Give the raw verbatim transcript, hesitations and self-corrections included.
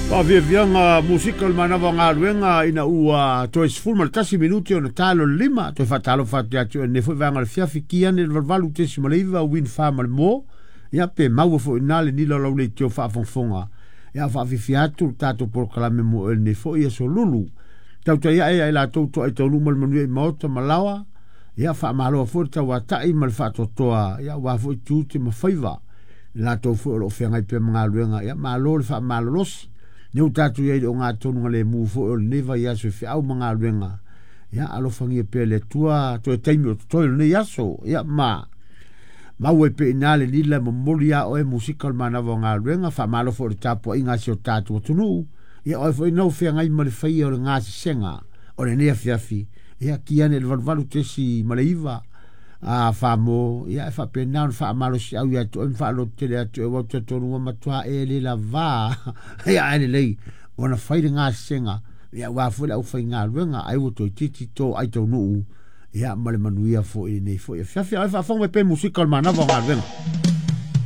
Faafiafiaga musika o le manava o galuega ina ua toe sefulu ma le tasi minuti ona talo le lima toe faatalofa atu ia te oe lenei foi vaega o le fiafi ki ane le valuvalu tesi ma le iva win fa ma le mo ia pe maua foi ina le nila o lau leitio faafogafoga ia faafiafia atu le tatou polokalame mo oe lenei foi aso lulu tautai ae ai latou toai taunuu ma le manuia i maota ma laoa ia faamaloa foi le tauatai ma le faatoatoa ia aua foi tiute ma faiva i latou foi o loo feagai pea ma galuega ia malo le faamalolosi lea ua tatou i ai i le ogatotonu lemu foi o lenei vaiaso i feau ma galuega ia alofagia pea le Atua toe taimi o totoe o lenei aso ia ma maua ai pea i ina le lila e momoli a oe musika o le manava o galuega faamalo foi i le tapuaiga a si o tatou atunuu ia oe foi nau feagai ma le faia o le gasesega o lenei afiafi ia ki ane i le valuvalu tesi ma le iva a famo ia e faapena ona faamalosiau ia te oe ma faalototele atu e ua talitonu ua matua e le lavā ia ae lelei ona fai le gasesega ia aua foi le aufaigaluega ai ua toeitiiti to ai taunuu ia ma le manuia foi lenei foi afiafi. Ae faafofoga mai pea musika o le manava o galuega.